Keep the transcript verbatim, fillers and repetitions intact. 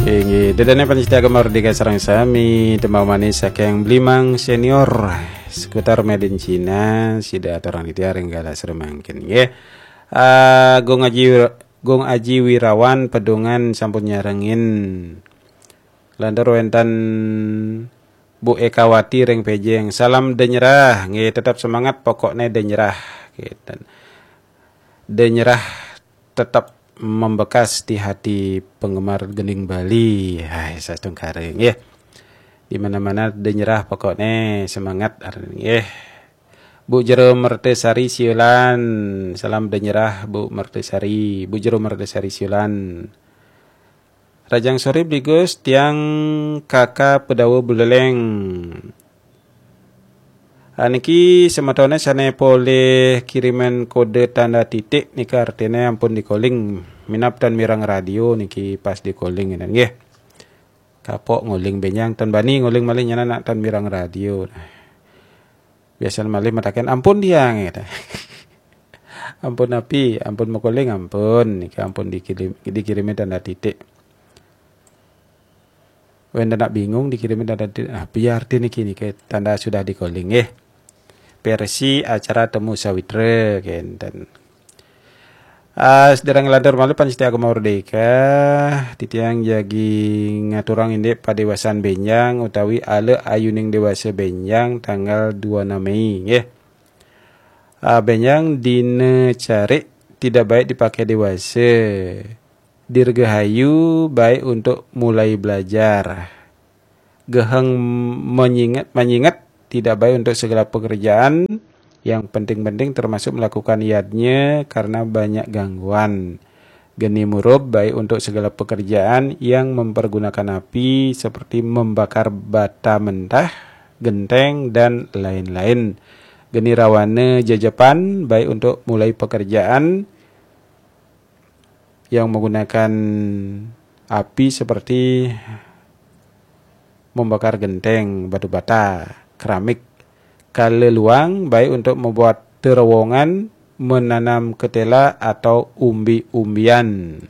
Inggih, dedene panitia Gema Merdeka sareng sami, tembang manis saking Blimang Senior, seputar made in Cina, sida aturang titiang ring galah sore mangkin, nggih. Ah, Gung Aji, Gung Aji Wirawan Pedungan sampun nyarengin. Lantur wenten Bu Ekawati ring Pejeng. Salam denyerah, nggih, tetap semangat, pokokne denyerah, gitu. Denyerah tetap membekas di hati penggemar gending Bali. Hai, satungkare, nggih. Di mana-mana denyerah, pokokne semangat, nggih. Bu Jero Mertesari Siulan, salam denyerah, Bu Mertesari, Bu Jero Mertesari Siulan. Rahajeng sore Bli Gus, tiang Kaka Pedawa Buleleng. Ah, niki semetone sane polih kirimin kode tanda titik nika artine ampun di-calling. Minab tan mireng radio niki pas di-calling ngene nggih. Kapok nguling benjang, tan bani nguling malih nyanan nak tan mireng radio. Biasane malih mataken, "Ampun tiang," gitu. "Ampun api, ampun makuling, ampun." Nika ampun dikirim, dikirimi tanda titik. Wenten nak bingung dikirimi tanda titik. Ah, piye arti niki, niki tanda sudah di-calling nggih. Versi acara Temu Sawitra kenten. Ah, sedereng lantur malih panitia Gema Merdeka, titiang jagi ngaturang indik padewasan benjang utawi ala ayuning dewasa benjang tanggal dua enam Mei, nggih. Ah, benjang dina carik tidak baik dipakai dewasa. Dirgahayu baik untuk mulai belajar. Geheng menyingat, menyingat tidak baik untuk segala pekerjaan yang penting-penting, termasuk melakukan yadnya karena banyak gangguan. Geni murub baik untuk segala pekerjaan yang mempergunakan api seperti membakar bata mentah, genteng, dan lain-lain. Geni rawana jejepan baik untuk mulai pekerjaan yang menggunakan api seperti membakar genteng, batu bata, keramik. Kala luang baik untuk membuat terowongan, menanam ketela atau umbi-umbian.